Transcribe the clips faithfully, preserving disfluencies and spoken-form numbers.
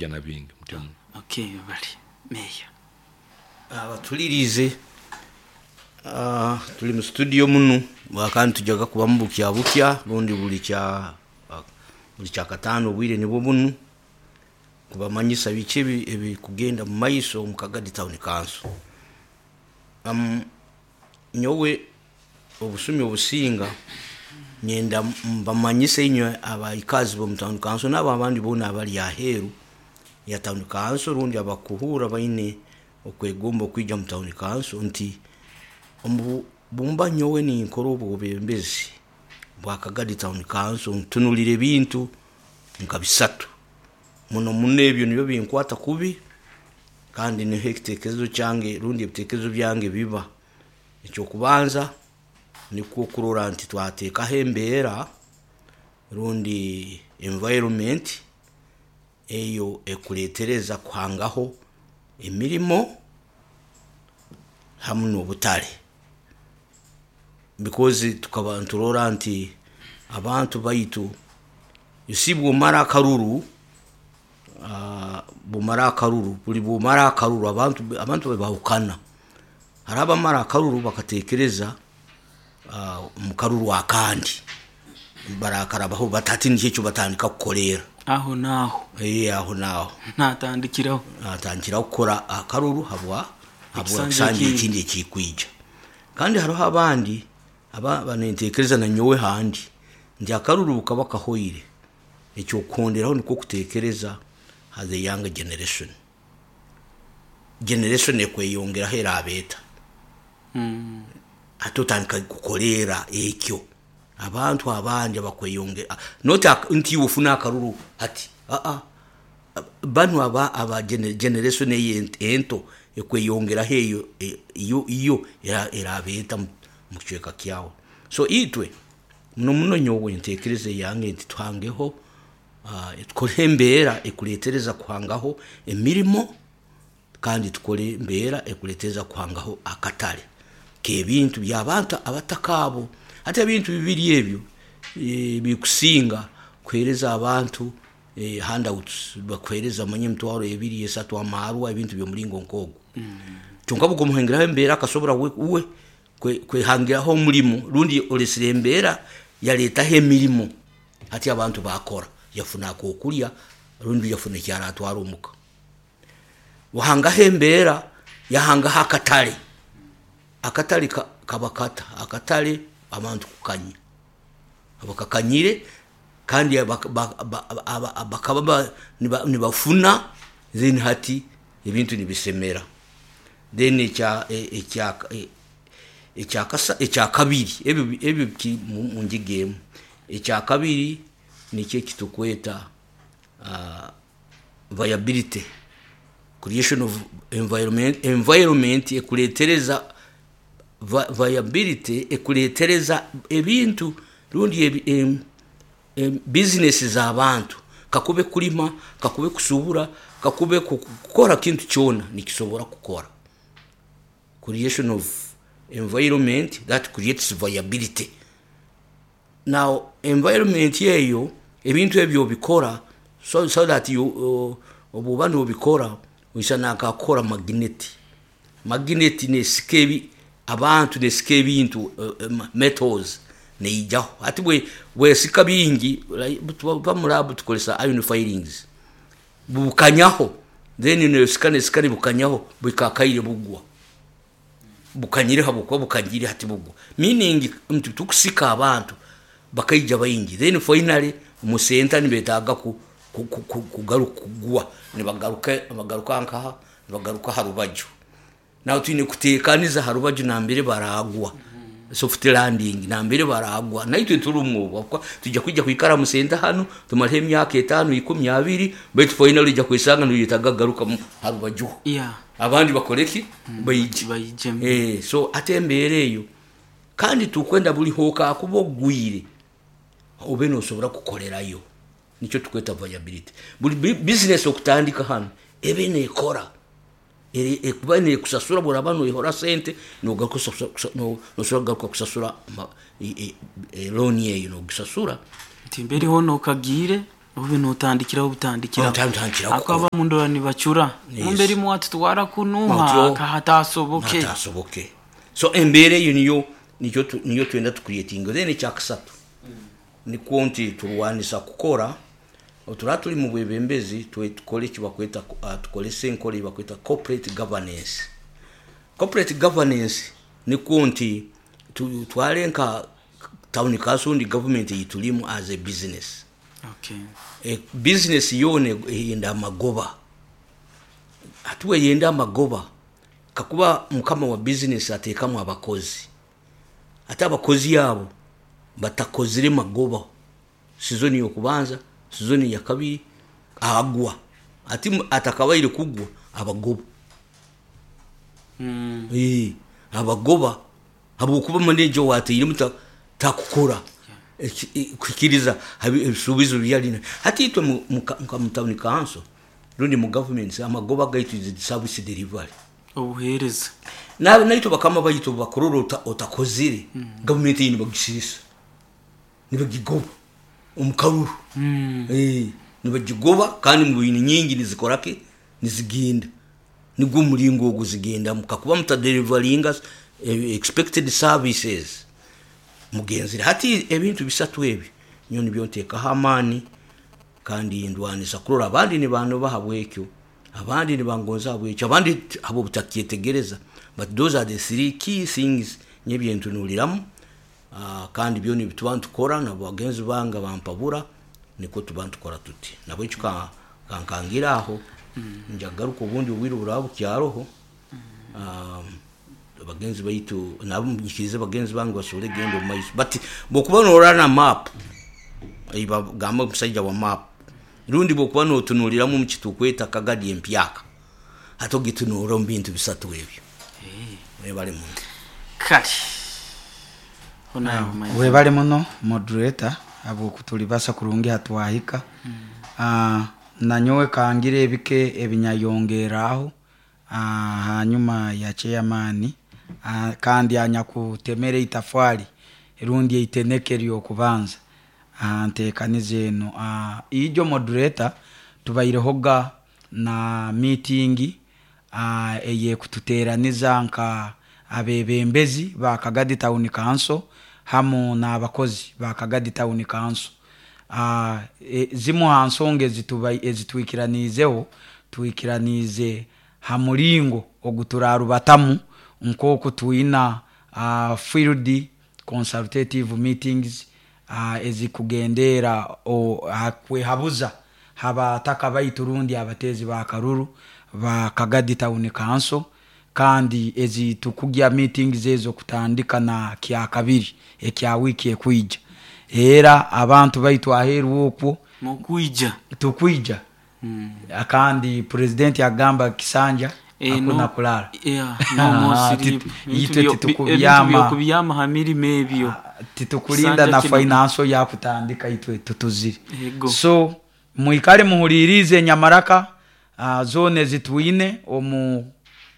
Na bingi mutyo muno. Okay, bali meya. Abatulirize, ah, tuli mu studio muno kandi tujaga kubamu bukya bukya rundi buli kya ah, buli kyakataano, obwire nibwo bunu kubamanyisa biki ebi- ebikugenda mu maiso omu Kagadi Town Council. um, nyowe obusumi obusinga nyenda mbamanyise inywe abaikazi bomu town council n'abo abandi boona abali aheeru ya town council rundi abakuhuura baine okwegomba okwija mu town council nti omu bumba nyowe ninkora obwebembezi bwa Kagadi Town Council, ntunulira ebintu nka bisatu muno muno. Ebyo nibyo binkwata kubi kandi niho ekitekerezo kyange rundi ebitekerezo byange biba. Ekyokubanza nikwo kurora nti twateekaho embeera rundi environment eyo ekuletereza kuhangaho emirimo hamu n'obutale, because tukaba nturora nti abantu baitu, you see, bwomara akaruru, ah, bwomara akaruru, buli bwomara akaruru abantu abantu bahukana. Hari abamara akaruru bakatekereza ah, mu karuru akandi barakarabaho batati nikyo ekyo batandika kukorera. Aho naaho. Eh, aho naho. Natandikiraho. Atandikira kukora akaruru habwa habwa ekisanja ekisanja ekindi. Ekindi ekikwija. Kandi hariho abandi aba banentekereza na nyowe handi nti akaruru bukaba kahoire, ekyokuhonderaho nikwo kutekereza ha the young generation, generation ekweyongeraho erabeeta. Mm. Ate otandika kukoleera ekyo abantu abandi abakweyongera, not ak- nti iwe ofuna akaruru hati, aa, banu aba aba gene- generation eyo ento ekweyongeraho eyo e- iyo iyo era- erabeeta mu mu kicweka kyawe. So itwe muno muno nyowe ntekereza eyange nti tuhangeho, ah, tukore embeera ekuletereza kuhangaho emirimo kandi tukore embeera ekuletereza kuhangaho akatale k'ebintu by'abantu abataka abo. Ate ebintu bibiri ebyo eh, bikusinga kuhereza abantu eh, handouts, bakuhereza manye emitwaro ebiri, esatu, amarwa, ebintu by'omulingo nk'ogwo. Kyonka bukomuhengeraho embeera akasobora we uwe kwe- kwehangiraho omulimo rundi olesire embeera yaleetaho emirimo, hati abantu bakora, yafuna akokulya rundi yafuna ekyaratwara omuka. Wahangaho embeera, yahangaho akatale. Akatale ka- kaba kata akatale abantu kukanya abakakanyire kandi abak- ba- ba- aba- bakaba ba- niba- nibafuna, then hati ebintu nibisemera. Then ekya e- ekya e- ekyakasa ekyakabiri, ebyo ebyo ki mu mu ngiga emu. Ekyakabiri nikyo ekitukweta uh, viability, creation of environment environment ekuletereza va- viability, ekuletereza ebintu rundi ebi, em, em, business z'abantu, kakube kulima, kakube kusubura, kakube ku- kukora kintu kyona nikisobora kukora. Creation of environment that creates viability. Now environment eyo ebintu ebyo obikora so, so that you uh, obuba nobikora oisana akakora magnet magnet nesika ebi abantu, nesika ebintu, uh, um, metals neijaho. Ati bwe bwesika bingi, tuba mu lab tukozesa iron filings, bukanyaho, then nesika nesika nibukanyaho bukakaire bugwa bukanyire habwokuba bukanyire hati bugwa, meaning nti tukusika abantu bakaija baingi, then finally musenta nibetaaga ku, ku, ku, ku, kugaruka kugwa, nibagaruka bagaruka nkaha, nibagaruka ha rubaju. Nawe twine kuteekaniza ha rubaju nambere baragwa, soft landing nambere baragwa. Naitwe turi obu tujja kwijja kwikara mu senta hanu tumaleho emyaka etaano, ikumi, abiri, baitu finally ojja kwesanga noyetaga kugaruka mu- ha rubaju yeah abandi bakore ki, baije. Bayijemu. Eh, so ate embeera eyo kandi tukwenda buli hooka akuba ogwire obe nosobora kukolerayo, nikyo tukweta viability. Buli bi- business okutandika hano ebe nekora, Eri- ekuba nekusasura. Bworaba noihora sente, nogaruka kusasura- kusa- no- nosobora kugaruka kusasura ma- i- i- e- loan eyo nogisasura. Nti mberiho nokagire. Obe notandikiraho butandikiraho. Otandikiraho. Akaba mundora nibacura. Yes. Mumberi mwatutwara kunuha Otyo. kahatasoboke. Hatasoboke. So embeera eyo niyo niyo tu- niyo twenda tucreatinga. Then ekyakusatu nikwo nti turwanisa kukora otura turi mu bwebembezi, twe tukore eki bakweta, uh, tukorese enkora ei bakweta corporate governance. Corporate governance nikwo nti tu- tware nka town council ndi government eyiturimu as a business. Okay. E, business yoona eyenda amagoba. Ati weyenda amagoba, kakuba mukama wa business ateekamu abakozi, ate abakozi abo batakozire magoba sizoni yokubanza, sizoni ya kabiri, agwa. Ati mu- atakabaire kugwa, abagoba. Mm. Eh, abagoba habwokuba manager wateiremu ta- takukora Eki- i- kuhikiriza habi- ebisuubizo byalina. Hati itwe mu- mu ka- nka mu town council rundi mu government, amagoba gaitu is service delivery. Obuheereza. Na- naitwe bakama baitu bakurora ota- otakozire, gavumenti eyi nibagisirisa, nibagigoba omu karuru. Mm. Eh, nibagigoba kandi mu bintu nyingi nizikoraki, nizigenda nigwo omuringo ogwo zigendamu kakuba mutadelivaringa eh, expected services mugenzire. Hati ebintu bisatu ebi nyo nibyo nteekaho amaani kandi ndwanisa kurora abandi nibanoba habwekyo, abandi nibangonza habwekyo, abandi t- habwo butakyetegereza, but those are the three key things nyebyentunuliramu. uh, kandi byo nibituba ntukora nabo bagenzi bange bampabura niko tuba ntukora tuti nabo ekyo ka- kankangira aho njagaruka obundi obwire buraba bukyaroho. um, bagenzi baitu nabo nyikirize bagenzi bange basobole genda omu maiso, but bwokuba norana map bagamba omusajja wa map, rundi bwokuba notunuliramu omu kitukweta Kagadi empyaka, ate ogitunuura omu bintu bisatu ebyo. Webale muno. Kale honayo mayizi. Webale muno moderator habwokutulibasa kurungi hatwahika. Ah, nanyowe kangire ebike ebinyayongeraho ah, hanyuma ya chairman, ah, kandi anyakutemera itafari rundi eiteneke lyokubanza ah, ntekaniza eno. Ah, ijo moderator tubairehoga na meeting ah, eyekututeraniza nka abebembezi ba Kagadi Town Council hamu n'abakozi ba Kagadi Town Council. Ah, e, zimu ha nsonga ezitubai- ezitwikiraniizeho, twikiraniize ha muringo oguturarubatamu nk'oku twina uh, field consultative meetings uh, ezikugendera o- ha kwehabuza habataka baitu rundi abatezi ba karuru ba Kagadi Town Council, kandi ezi tukugya meetings ezo kutandika na kya kabiri ekya wiki ekwija, era abantu baitu aheeru okwo Mukwija. Tukwija. Mm. Kandi president agamba kisanja Eh, hakuna no- kulala. Yeah, no more Ah, sleep. titu- Ebintu itwe byo- titukubyama. ebintu byokubyama ha mirimo ebyo. Titukulinda Kisanja na kino- financial yakutandika itwe tutuzire. Yego. So mwikale muhulirize enyamaraka uh, zone ezitwine omu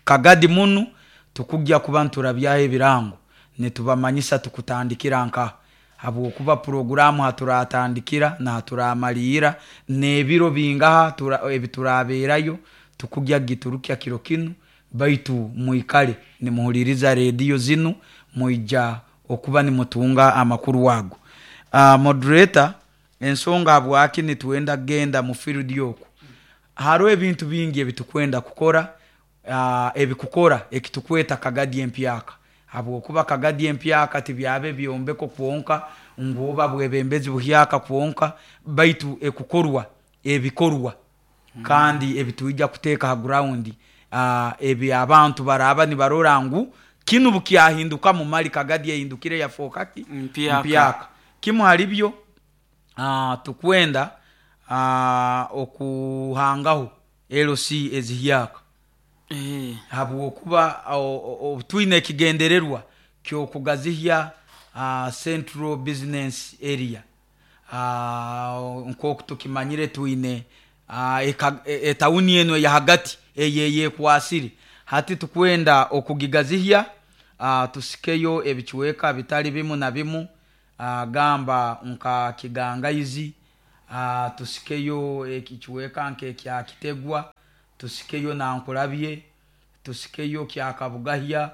Kagadi munu, tukujja kuba nturabyaho ebirango nitubamanyisa tukutandikira nka habwokuba puroguramu haturatandikira nahaturamalira n'ebiro bingaha tura- ebiturabeerayo tukujya giturukya kiro kinu, baitu mwikale nimuhuliriza rediyo zinu, mwija okuba nimutunga amakuru ago. uh, moderator ensonga habwaki nitwenda kugenda mu field oku, hariho ebintu bingi ebitukwenda kukora, uh, ebikukora ekitukweta Kagadi empyaka, habwokuba Kagadi empyaka tibyabe ebyombeko kwonka ngu oba bwebembezi buhyaka kwonka, baitu ekukorwa ebikorwa kandi ebitwija kuteeka ha ground, uh, ebi abantu baraba nibarora ngu kinu bukyahinduka mumali Kagadi ehindukire yafooka ki? Mpyaka. Mpyaka. Kimu halibyo uh, tukwenda uh, okuhangaho L C ezihyaka Eh, habwokuba o- o- o- twine ekigendererwa kyokugazihya uh, central business area. uh, nkoku tukimanyire twine uh, etawuni eno eyahagati eyeyekwasire, hati tukwenda okugigazihya, uh, tusikeyo ebicweka bitali bimu na bimu, uh, gamba nka Kigangaizi. uh, tusikeyo ekichweka nke kya Kitegwa, tusikeyo Nankulabye, tusikeyo kya Kabugahya,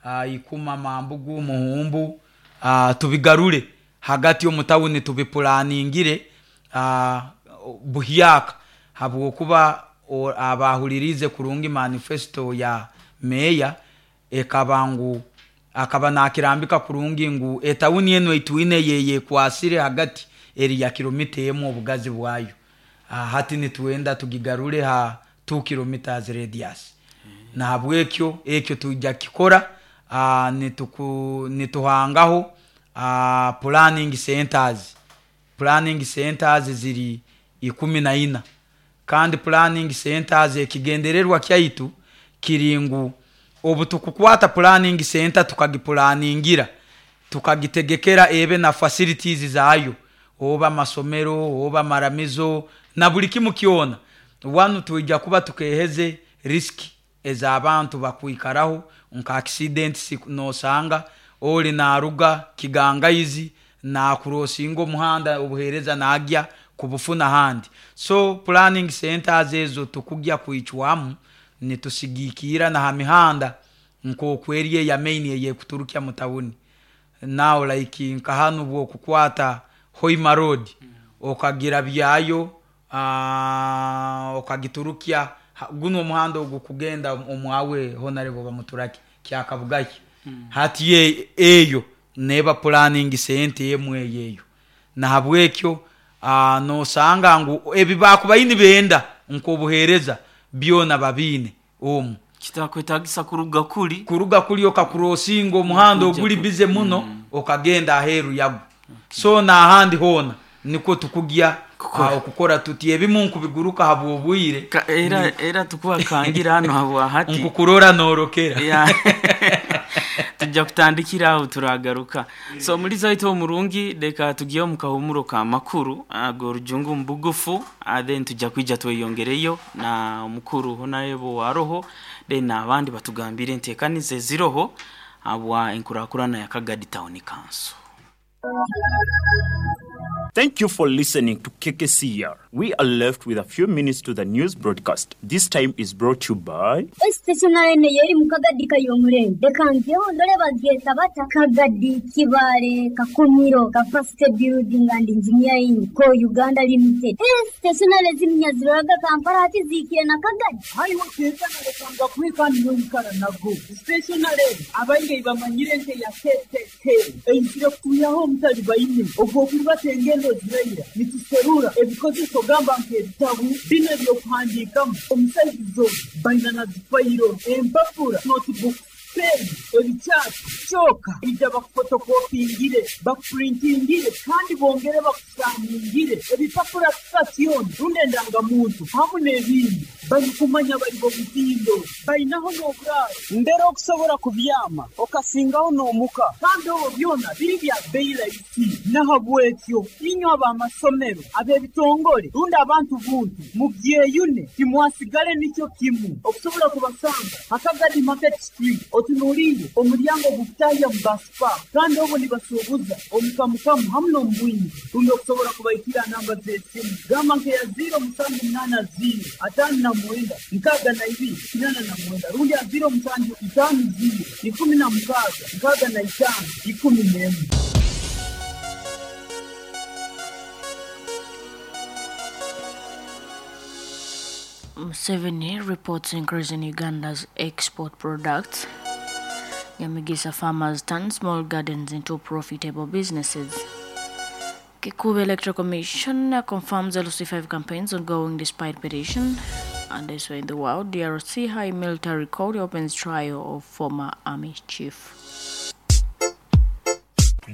uh, Ikuma, Mambugu, Muhumbu, uh, tubigarure hagati omutawuni tubipulaningire uh, buhyaka, habwokuba abahulirize kurungi manifesto ya meya ekaba ngu akaba nakirambika kurungi ngu etawuni eno itwine yeye kwasire hagati eri ya kilomita emu obugazi bwayo. Uh, hati nitwenda tugigarure ha two kilometers radius. Mm. Na habwekyo ekyo tujja kikora, uh, nituku nituhangaho uh, planning centers. Planning centers ziri ikumi na ina. Kandi planning centers ekigendererwa kyaitu kiringu obutukukwata planning center tukagipulaningira tukagitegekera ebe na facilities zayo, oba masomero oba maramizo na buli kimu kyona. Wanu tuija kuba tukeheze risk ez'abantu bakwikaraho nka accidents nosanga oli naruga kigangaizi na kurosinga omuhanda obuhereza nagya kubufuna handi. So planning centers ezo tukugya kuichwamu nitusigikira na hamihanda nkokweriye ya main ye kuturukia mutawuni. Now like nkahanu bwo kukwata Hoima Road mm. okagira byayo uh, okagiturukia guno omuhanda ogukugenda omwawe honorable bamuturaki kyakabugaki mm. hati ye eyo neba planning center emwe yeyo. Na habwekyo uh, nosanga ngu ebibakubayini benda nkobuhereza byona babine omu kitakwetagisa kuruga kuli kuruga kuli okakurosinga omuhanda oguli bize muno mm. okagenda aheru yago. Okay. So na ahandi hona niko tukugya okukora tuti ebimu nkubiguruka habwobwire era era tukuwa kangira hano habwa hati nkukurora norokera yeah. Tujja kutandikira aho turagaruka. So muri zaito omurungi leka tugiye mu kahumuro ka makuru ago rujungu mbugufu, then tujja kwija tweyongereyo na omukuru honorable waroho then nabandi batugambire entekanize ziroho abwa enkurakurana ya Kagadi Town Council. Thank you for listening to K K C R. We are left with a few minutes to the news broadcast. This time is brought to you by Stationary yeri mu Kagadi kayomurembe. Reka ndore bagyeta bata Kagadi Kibare Kakumiro Capacity Building and Engineering Co Uganda Limited. Stationary zimnyaziraga Kampala ati zikire na Kagadi. Hariho stationary kanga kwika nyonkara nago. Stationary abainge bamanyire nte ya K K K. Einzire kuyaho mutali bayine. Ogwo kubatengendo ziraira nituserura ebikozeso gamba nk'ebitabu bino ebyokuhandiikamu omusaizizo baina na zifayiro empapura notebook pen ebikyapa kyoka ija bakufotokopingire bakupurintingire kandi bongere bakusaningire ebipapura sitasioni rundi endangamuntu hamu n'ebindi barikumanya bari bo mutindo bainaho n'oburaaro mbere okusobora kubyama okasingaho n'omuka kandi obwo byona biri bya beyi rahisi. Nahabwekyo inywe ab'amasomero ab'ebitongore rundi abantu buntu mubyeyune timwasigale nikyo kimu okusobola kubasanga Akagadi Market Street otunuulire omulyango gukutahya mu basipa kandi obwo nibasuubuza omukamukamu hamu n'omubwingi rundi okusobola kubaikira namba z'esimu gamba nkeya ziro musanju munana ziro atano na mwenda nkaaga na ibiri kinana na mwenda rundi ya ziro musanju itaano ziro ikumi na mukaaga nkaaga na itaano ikumi n'emwe. Museveni reports increase in Uganda's export products. Nyamigisa farmers turn small gardens into profitable businesses. Kikuube Electoral Commission confirms L C five campaigns ongoing despite petition. And elsewhere in the world, D R C High Military Court opens trial of former army chief.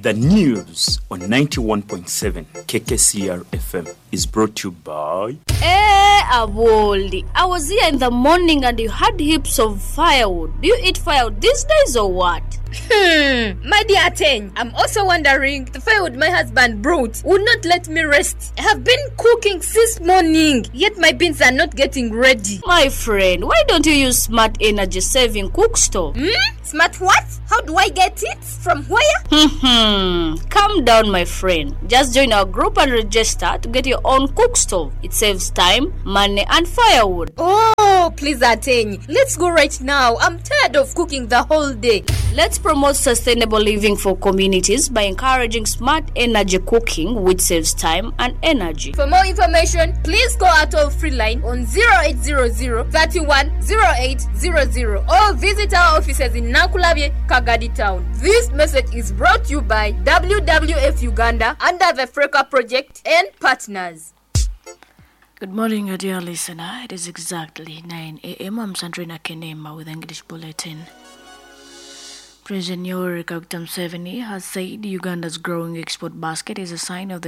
The news on ninety-one point seven K K C R F M is brought to you by... Hey, Aboldi, I was here in the morning and you had heaps of firewood. Do you eat firewood these days or what? Hmm, my dear Ateng, I'm also wondering, the firewood my husband brought would not let me rest. I have been cooking since morning, yet my beans are not getting ready. My friend, why don't you use smart energy saving cook stove? Hmm? Smart what? How do I get it? From where? Hmm. Calm down, my friend. Just join our group and register to get your own cook stove. It saves time, money, and firewood. Oh, please, Ateny. Let's go right now. I'm tired of cooking the whole day. Let's promote sustainable living for communities by encouraging smart energy cooking, which saves time and energy. For more information, please call our toll free line on zero eight zero zero thirty-one oh eight zero zero or visit our offices in Nankulabye, Kagadi Town. This message is brought to you by W W F Uganda under the FRECA project and partners. Good morning, dear listener. It is exactly nine a m. I'm Sandrina Kenema with English Bulletin. President Yoweri Kaguta Museveni has said Uganda's growing export basket is a sign of the